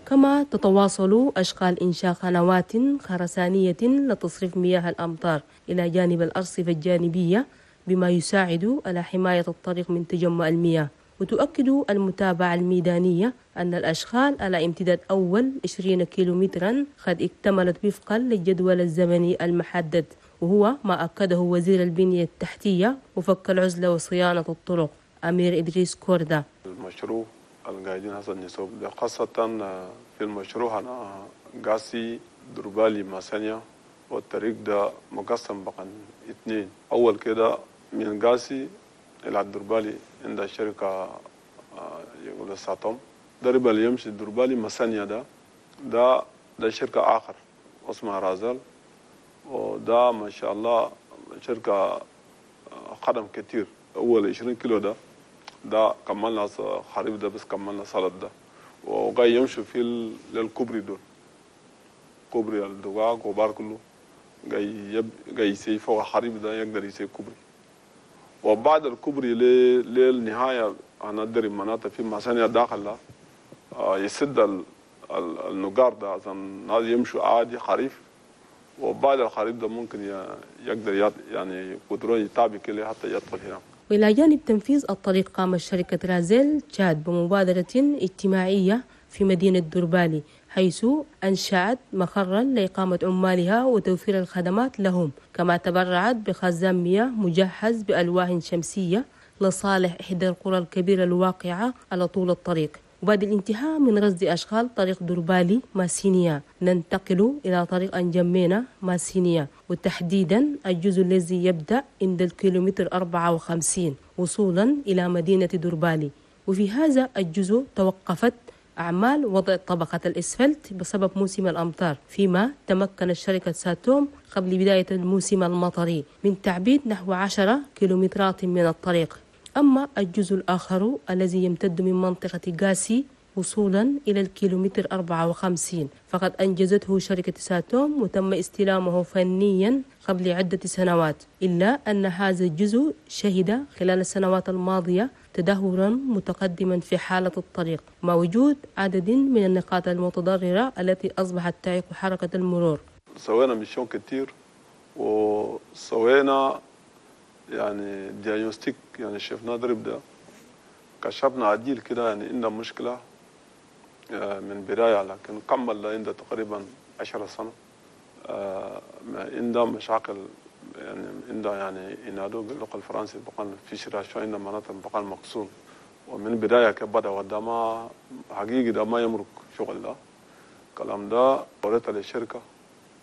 كما تتواصل أشغال إنشاء قنوات خرسانية لتصريف مياه الأمطار إلى جانب الأرصفة الجانبية، بما يساعد على حماية الطريق من تجمع المياه. وتؤكد المتابعة الميدانية أن الأشغال على امتداد أول 20 كيلومترا قد اكتملت وفقا للجدول الزمني المحدد، وهو ما أكده وزير البنية التحتية وفك العزلة وصيانة الطرق أمير إدريس كوردا. المشروع القاعدين حسن نسوب ده، خاصة في المشروع أنا قاسي دربالي ماسانيا، والطريق ده مقسم بقى 2. أول كده من قاسي إلى الدربالي عند الشركة يقول ساتوم، درب اللي يمشي الدربالي مسانيا ده شركة آخر اسمها رازل، وده ما شاء الله شركة خدم كتير. أول 20 كيلو ده كملنا خريف ده، بس كملنا سلط ده، وجاي يمشوا في للكوبري دول، كوبري الدقاق وبار كله جاي يسي فوق الخريف ده، يقدر يسي كوبري. وبعد الكوبري للنهاية أنا أدري مناطق في مسانيا داخل ده، يسد النقار ده عشان الناس يمشوا عادي خريف. وبعد الخريف ده ممكن يقدر يعني قدرون يتابع كله حتى يدخل هناك. وإلى جانب تنفيذ الطريق قام شركة رازيل تشاد بمبادرة اجتماعية في مدينة دربالي، حيث أنشأت مقرا لإقامة عمالها وتوفير الخدمات لهم، كما تبرعت بخزان مياه مجهز بألواح شمسية لصالح إحدى القرى الكبيرة الواقعة على طول الطريق. وبعد الانتهاء من رصد أشغال طريق دربالي ماسينيا ننتقل إلى طريق أنجمينا ماسينيا، وتحديدا الجزء الذي يبدأ عند الكيلومتر 54 وصولا إلى مدينة دربالي. وفي هذا الجزء توقفت أعمال وضع طبقة الإسفلت بسبب موسم الأمطار، فيما تمكن شركة ساتوم قبل بداية الموسم المطري من تعبيد نحو 10 كيلومترات من الطريق. أما الجزء الآخر الذي يمتد من منطقة غاسي وصولا إلى الكيلومتر 54 فقد أنجزته شركة ساتوم وتم استلامه فنيا قبل عدة سنوات، إلا أن هذا الجزء شهد خلال السنوات الماضية تدهورا متقدما في حالة الطريق، مع وجود عدد من النقاط المتضررة التي أصبحت تعيق حركة المرور. سوينا mission كتير وسوينا يعني diagnostic، يعني شفنا درب ده كشفنا عديل كده، يعني عندنا مشكلة من بداية، لكن كمل عندنا تقريبا 10 سنة عندنا مشاكل، يعني عندنا يعني ينادوا باللغة الفرنسية بقى في شراء عندنا مناطق بقى مقسوم، ومن بداية كبدا وده ما حقيقي ده ما يمرق شغل ده الكلام ده. وريت للشركة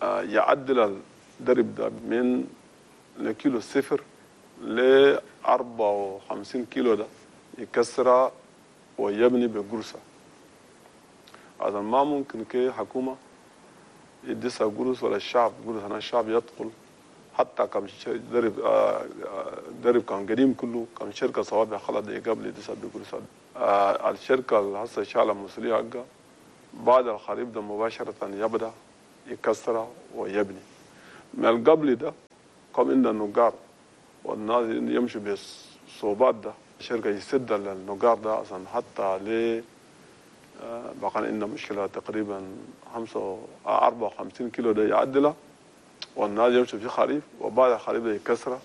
يعدل الدرب ده من الكيلو 0 ل 54 كيلو ده يكسره ويبني بقرصة. هذا ما ممكن كي حكومة يدسها قرص ولا الشعب قرص، أنا الشعب يدخل حتى كم درب درب كان قديم كله كم شركة صوابع خلط قبل يدسها بقرصة. الشركة اللي هسه شالة مسؤولية حقها بعد الخريف ده مباشرة يبدأ يكسره ويبني. من قبل ده كم عندنا نقار والناس يمشوا بالصوبات ده، الشركة يسد النقار ده عشان حتى ليه بقى عندنا مشكلة تقريبا 54 كيلو ده يعدله والناس يمشوا في خريف، وبعد الخريف ده يكسره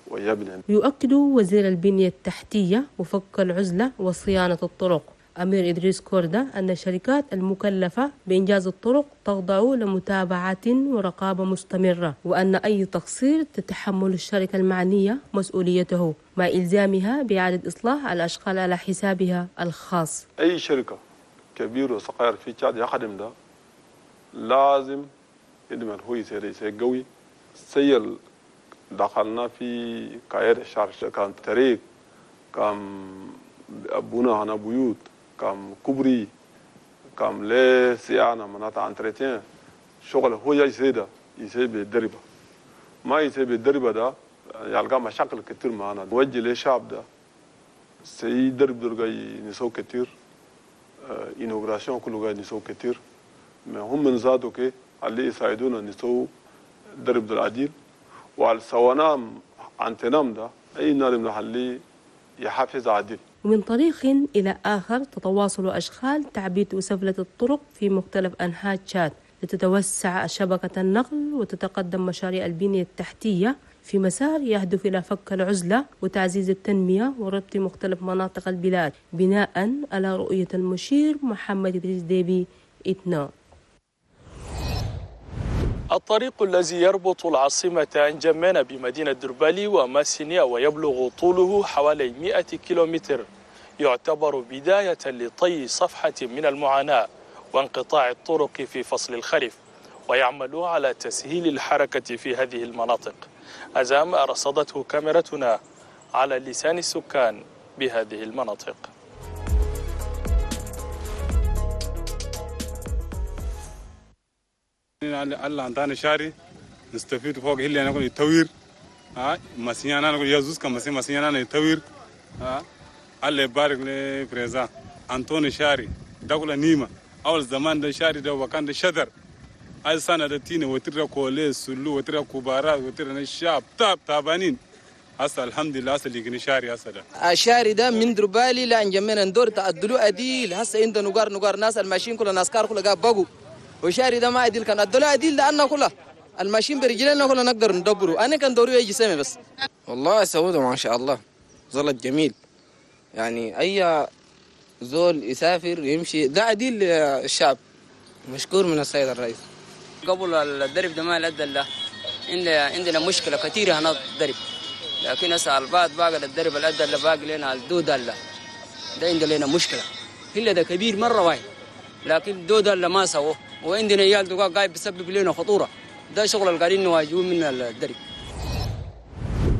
ويبني. يؤكد وزير البنية التحتية وفك العزلة وصيانة الطرق أمير إدريس كوردا أن الشركات المكلفة بإنجاز الطرق تخضع لمتابعة ورقابة مستمرة، وأن أي تقصير تتحمل الشركة المعنية مسؤوليته مع إلزامها بإعادة إصلاح الأشغال على حسابها الخاص. أي شركة كبير وصغير في تشاد يخدم ده لازم يدمر هو يصير قوي. سيل دخلنا في كاير الشارع كان طريق كان بنا هنا بيوت كم كوبري كم لي صيانة مناطق انتريتين شغل هو يسيدا يسيب الدربة ما يسيب الدربة ده يلقى مشاكل كتير معنا. وجه للشعب ده سي درب درجة نسو كتير inauguration كله جاي نسو كتير، ما هم من زادوا كي اللي يساعدونا نسو درب ده العديل وعلى سوانام انتنام ده اي نار من اللي يحافظ عديل. ومن طريق إلى آخر تتواصل أشغال تعبيد وسفلة الطرق في مختلف أنحاء تشاد لتتوسع شبكة النقل وتتقدم مشاريع البنية التحتية في مسار يهدف إلى فك العزلة وتعزيز التنمية وربط مختلف مناطق البلاد بناء على رؤية المشير محمد إدريس ديبي إتنو. الطريق الذي يربط العاصمة أنجمينا بمدينة دربالي وماسينيا ويبلغ طوله حوالي 100 كيلومتر يعتبر بداية لطي صفحة من المعاناة وانقطاع الطرق في فصل الخريف، ويعمل على تسهيل الحركة في هذه المناطق. أزام رصدته كاميرتنا على لسان السكان بهذه المناطق. الله عندنا شاري نستفيد فوق اللي أنا أقول يتوير، مسيانا أنا أقول يزوز كم مسيانا أنا يتوير، الله يبارك لي بريزا أنطوني شاري دخل نيمة أول زمان ده شاري ده وكان ده شجر أي سنة ده تيني وترى كولي سلو وترى كبارات وترى الشعب تاب تابانين هسه الحمد لله هسه اللي شاري هسه ده الشاري ده من دربالي لأنجمينا ندور تعدلوا أديل هسه عند نقار ناس الماشيين كل ناس كار كل قاب بقوا وشاري ده ما أديل كان أدلوا أديل لأنه كله الماشيين برجلنا كله نقدر ندبره أنا كان دوري يجي سامي بس والله سوده ما شاء الله ظلت جميل يعني أي زول يسافر يمشي ده أديل الشعب مشكور من السيد الرئيس. قبل الدرب ده ما الأدلة عندنا مشكلة كثيرة هنا الدرب، لكن هسه البعض باقي الدرب الأدلة باقي لنا الدودلة ده عندنا لنا مشكلة هلا ده كبير مرة واحد لكن دودلة ما سووه وعندنا عيال دقاق قاعد بيسبب لنا خطورة ده شغل اللي قاعدين نواجهه من الدرب.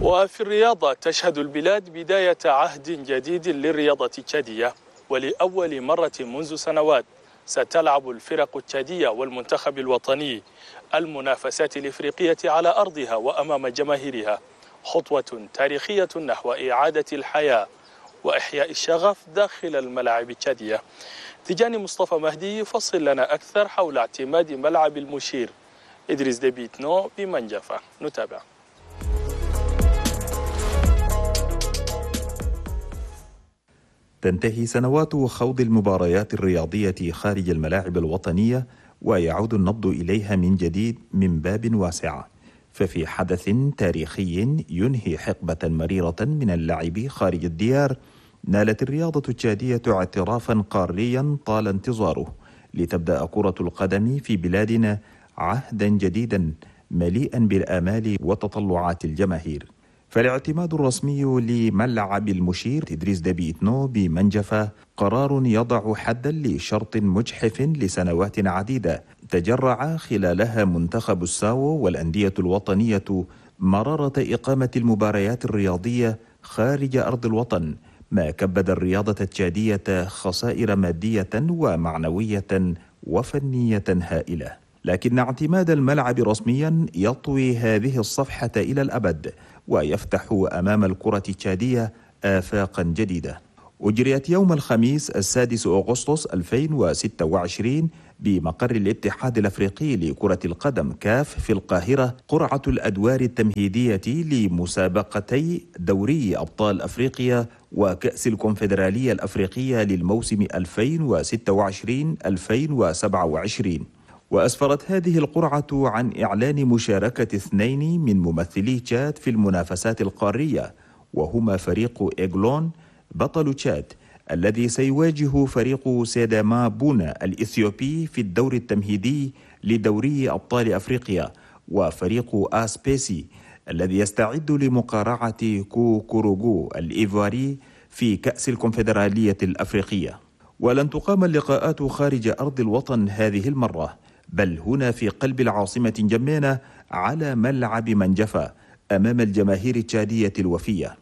وفي الرياضة تشهد البلاد بداية عهد جديد للرياضة التشادية، ولأول مرة منذ سنوات ستلعب الفرق التشادية والمنتخب الوطني المنافسات الإفريقية على أرضها وأمام جماهيرها، خطوة تاريخية نحو إعادة الحياة وإحياء الشغف داخل الملاعب التشادية. تجاني مصطفى مهدي يفصل لنا أكثر حول اعتماد ملعب المشير إدريس ديبي إتنو بمنجفة، نتابع. تنتهي سنوات خوض المباريات الرياضية خارج الملاعب الوطنية ويعود النبض إليها من جديد من باب واسع، ففي حدث تاريخي ينهي حقبة مريرة من اللعب خارج الديار نالت الرياضة التشادية اعترافا قاريا طال انتظاره لتبدأ كرة القدم في بلادنا عهدا جديدا مليئا بالآمال وتطلعات الجماهير. فالاعتماد الرسمي لملعب المشير إدريس ديبي إتنو بمنجفة قرار يضع حدا لشرط مجحف لسنوات عديدة تجرع خلالها منتخب الساو والأندية الوطنية مرارة إقامة المباريات الرياضية خارج أرض الوطن، ما كبد الرياضة التشادية خسائر مادية ومعنوية وفنية هائلة. لكن اعتماد الملعب رسميا يطوي هذه الصفحة إلى الأبد ويفتح أمام الكرة التشادية آفاقا جديدة. أجريت يوم الخميس 6 أغسطس 2026 بمقر الاتحاد الأفريقي لكرة القدم كاف في القاهرة قرعة الأدوار التمهيدية لمسابقتي دوري أبطال أفريقيا وكأس الكونفدرالية الأفريقية للموسم 2026-2027. وأسفرت هذه القرعة عن إعلان مشاركة 2 من ممثلي تشاد في المنافسات القارية، وهما فريق إيغلون بطل تشاد الذي سيواجه فريق سيداما بونا الإثيوبي في الدور التمهيدي لدوري أبطال أفريقيا، وفريق آسبيسي الذي يستعد لمقارعة كوكوروغو الإيفواري في كأس الكونفدرالية الأفريقية. ولن تقام اللقاءات خارج أرض الوطن هذه المرة، بل هنا في قلب العاصمة جمينة على ملعب منجفة أمام الجماهير التشادية الوفية.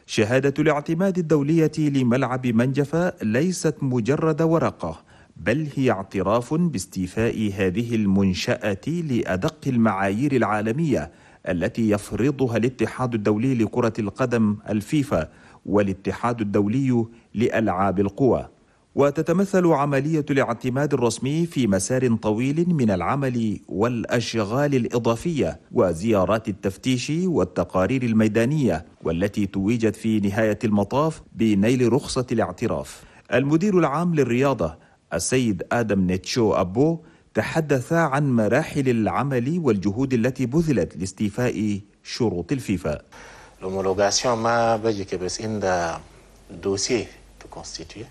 شهادة الاعتماد الدولية لملعب منجفة ليست مجرد ورقة، بل هي اعتراف باستيفاء هذه المنشأة لأدق المعايير العالمية التي يفرضها الاتحاد الدولي لكرة القدم الفيفا والاتحاد الدولي لألعاب القوى. وتتمثل عملية الاعتماد الرسمي في مسار طويل من العمل والأشغال الإضافية وزيارات التفتيش والتقارير الميدانية، والتي توجت في نهاية المطاف بنيل رخصة الاعتراف. المدير العام للرياضة السيد آدم نيتشو أبو تحدث عن مراحل العمل والجهود التي بذلت لاستيفاء شروط الفيفا. L'homologation ما بجي بس عند dossier constitué،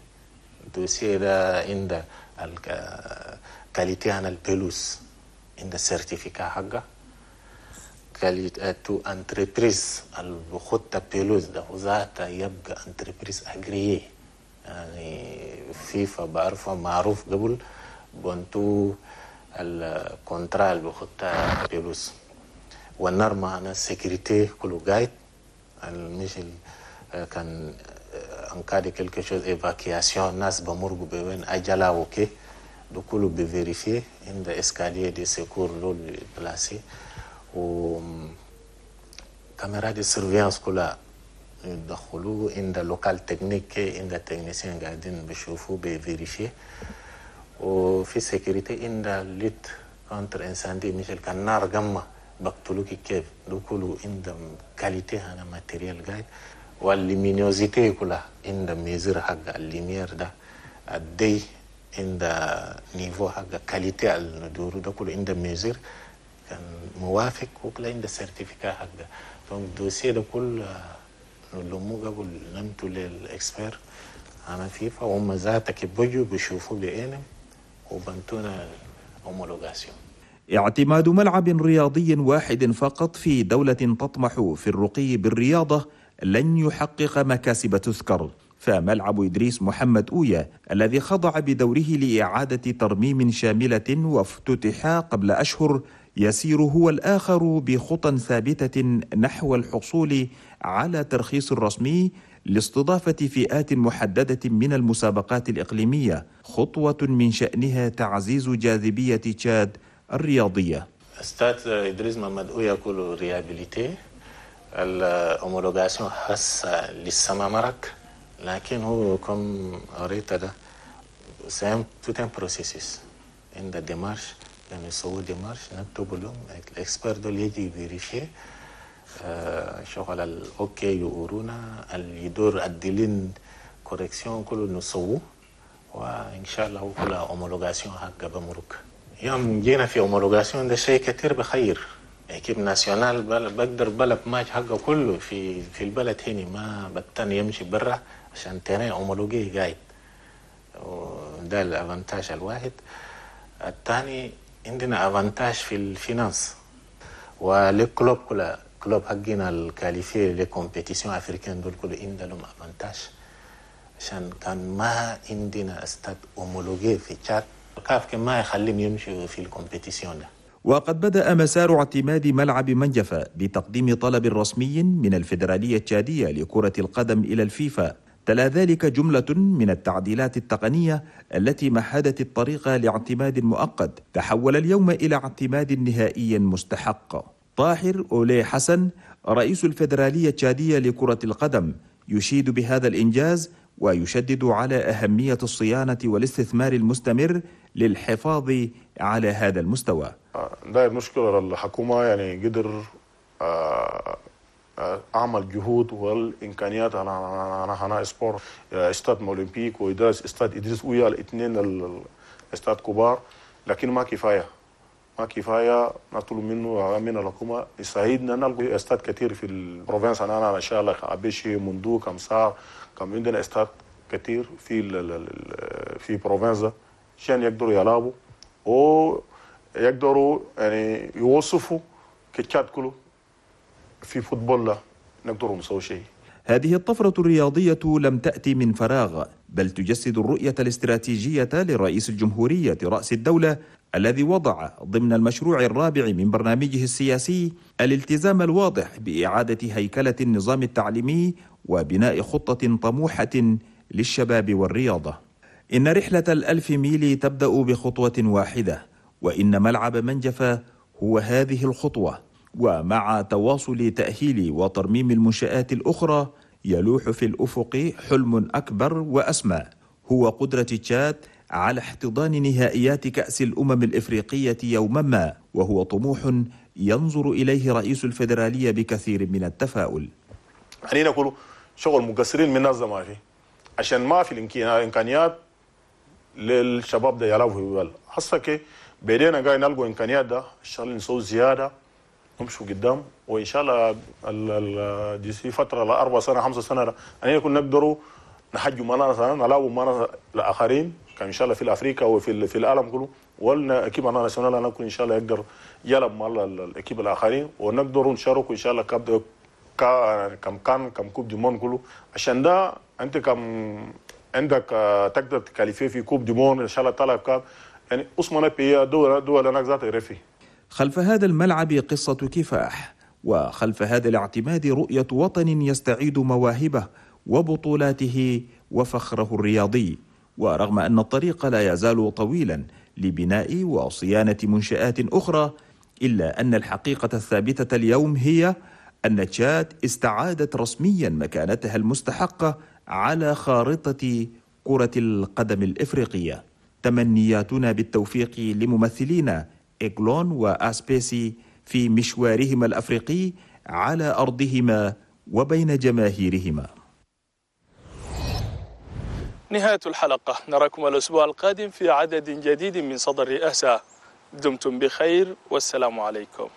dossier ده عند ال qualité عن ال pelouse، عند certificat حقه qualité تو entreprise البخطة pelouse ده وذاتها يبقى entreprise agréée، يعني فيفا بعرفها معروف قبل بنتو ال contrat اللي بخطة pelouse وال normes هنا sécurité كله قايد مش كان en cas de quelque chose évacuation الناس بمرقوا بوين أجلا وكي ده كله ب vérifier عند escalier de secours لول placé و caméra de surveillance كلها يدخلوه عند local technique، عند techniciens قاعدين بيشوفوا ب vérifier. وفي sécurité عند lutte contre incendie، مثل كان نار قمة بقتلوك كيف ده كله عند qualité هنا matériel قاعد. وال luminosité كلها عند mesure حق ال lumière ده الدي عند niveau حق qualité الندور ده كله عند mesure كان موافق وكله عند certificat حق. donc dossier ده كل نلمو قبل نمتو لل experts هنا فيفا، وهم ذاتك بيجوا بيشوفوا بعينهم وبنتونا homologation. اعتماد ملعب رياضي واحد فقط في دولة تطمح في الرقي بالرياضة لن يحقق مكاسب تذكر، فملعب إدريس محمد أويا الذي خضع بدوره لإعادة ترميم شاملة وافتتح قبل أشهر يسير هو الآخر بخطى ثابتة نحو الحصول على ترخيص رسمي لاستضافة فئات محددة من المسابقات الإقليمية، خطوة من شأنها تعزيز جاذبية تشاد الرياضية. استاد إدريس محمد أويا كله réhabilité، ال homologation هسه لسه ما مرق، لكن هو comme قريت ده c'est tout un processus عند démarches، يعني يسووا démarches نكتب لهم ال experts دول يجي vérifier شغل ال OK يورونا اللي يدور الدلين correction كله نسووه، وان شاء الله هو كلها homologation حق بمرق. يوم جينا في homologation ده شيء كثير بخير équipe nationale بقدر بلعب ماتش حقه كله في البلد هنا، ما بتن يمشي برا عشان terrain homologué قاعد، وده ال avantage الواحد. الثاني عندنا avantage في ال finance و les clubs كلها clubs حقنا ال qualifiés les compétitions africaines دول كله عندهم avantage، عشان كان ما عندنا stade homologué في تشاد كاف ما يخليهم يمشوا في ال compétition ده. وقد بدأ مسار اعتماد ملعب منجفة بتقديم طلب رسمي من الفيدرالية التشادية لكرة القدم إلى الفيفا، تلا ذلك جملة من التعديلات التقنية التي مهدت الطريق لاعتماد مؤقت تحول اليوم إلى اعتماد نهائي مستحق. طاهر أولي حسن رئيس الفيدرالية التشادية لكرة القدم يشيد بهذا الإنجاز ويشدد على أهمية الصيانة والاستثمار المستمر للحفاظ على هذا المستوى. داير نشكر الحكومة، يعني قدر أعمل جهود والإمكانيات أنا هنا sport استاد أولمبيك وإدريس استاد إدريس أويا، الاثنين الاستاد كبار، لكن ما كفاية، ما كفاية. نطلب منه من الحكومة يساعدنا نلقى استاد كثير في ال province. أنا إن شاء الله أبيشي مندو كمسار كم عندنا استاد كثير في province عشان يقدروا يلعبوا ويقدروا يعني يوصفوا كتشاد كله في football لا نقدروا نسوي شيء. هذه الطفرة الرياضية لم تأتي من فراغ، بل تجسد الرؤية الاستراتيجية لرئيس الجمهورية رأس الدولة الذي وضع ضمن المشروع الرابع من برنامجه السياسي الالتزام الواضح بإعادة هيكلة النظام التعليمي وبناء خطة طموحة للشباب والرياضة. إن رحلة الألف ميل تبدأ بخطوة واحدة، وإن ملعب منجفة هو هذه الخطوة. ومع تواصل تأهيل وترميم المنشآت الأخرى يلوح في الأفق حلم أكبر وأسمى، هو قدرة تشاد على احتضان نهائيات كأس الأمم الإفريقية يوما ما، وهو طموح ينظر إليه رئيس الفيدرالية بكثير من التفاؤل. خلينا نقول شغل مقصرين من الناس ما في، عشان ما في الامكانيات للشباب ده يلعبوا في البلد. هسه كي بدينا قاعد نلقوا امكانيات ده، ان شاء الله نسوي زيادة نمشوا قدام، وان شاء الله دي في فترة ل4 سنة 5 سنة يعني نكون نقدروا نحجوا معنا سنة نلعبوا معنا الاخرين كان ان شاء الله في افريقيا وفي في العالم كله، ولا équipe nationale نكون ان شاء الله يقدر يلعب مع ال équipes الاخرين، ونقدروا نشاركوا ان شاء الله كاب كم كان كم coupe du monde كله. عشان ده انت كم عندك تقدر ت qualifier في coupe du monde ان شاء الله طلع كاب يعني اسمنا بيا دول هناك ذات رفي. خلف هذا الملعب قصة كفاح، وخلف هذا الاعتماد رؤية وطن يستعيد مواهبه وبطولاته وفخره الرياضي. ورغم أن الطريق لا يزال طويلا لبناء وصيانة منشآت أخرى، إلا أن الحقيقة الثابتة اليوم هي أن تشاد استعادت رسميا مكانتها المستحقة على خارطة كرة القدم الإفريقية. تمنياتنا بالتوفيق لممثلين إيغلون وأسبيسي في مشوارهما الأفريقي على أرضهما وبين جماهيرهما. نهاية الحلقة، نراكم الأسبوع القادم في عدد جديد من صدى الرئاسة. دمتم بخير والسلام عليكم.